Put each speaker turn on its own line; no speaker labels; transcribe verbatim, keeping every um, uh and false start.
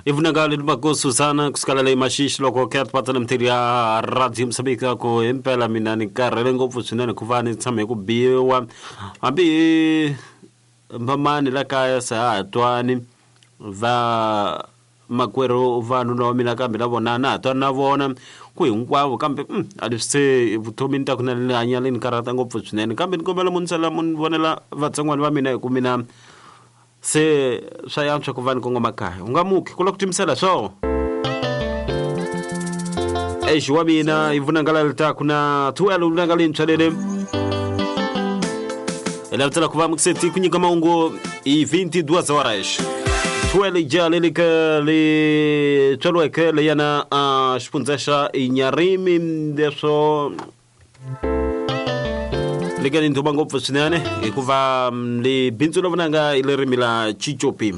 Ivunanga le Mako Susana kusukela le Mashishi loko ke patana mthiri ya Radio Msabika ku impela mina ni karhele ngopfu swinene ku va ni tshame ku biwa hambi vamani la kaya se ha twani va makwerhu vanhu na mina kambe na vona na ha twana na vona ku hinkwavo kambe a leswi se vutomi ta ku na ni hanya le ni karhata ngopfu swinene kambe ni kombela mu ni sala mu ni vonela vatsongwana va mina hi ku mina se swa yantswa ku va ni kongoma kaya u nga muki ku la ku timisela swo exi wa mina i vunanga litaku na twelve vunanga lintshwa lele hi lavutela ku va mukiseti ku nyika mahungu hi vinte e duas horas twelve ja leli ka li tswariweke leyana a xifundza xa Inyarimi leswo leka ni ndhuma ngopfu swinene hikuva li bindzu la vunanga i lerimi la Chichopi.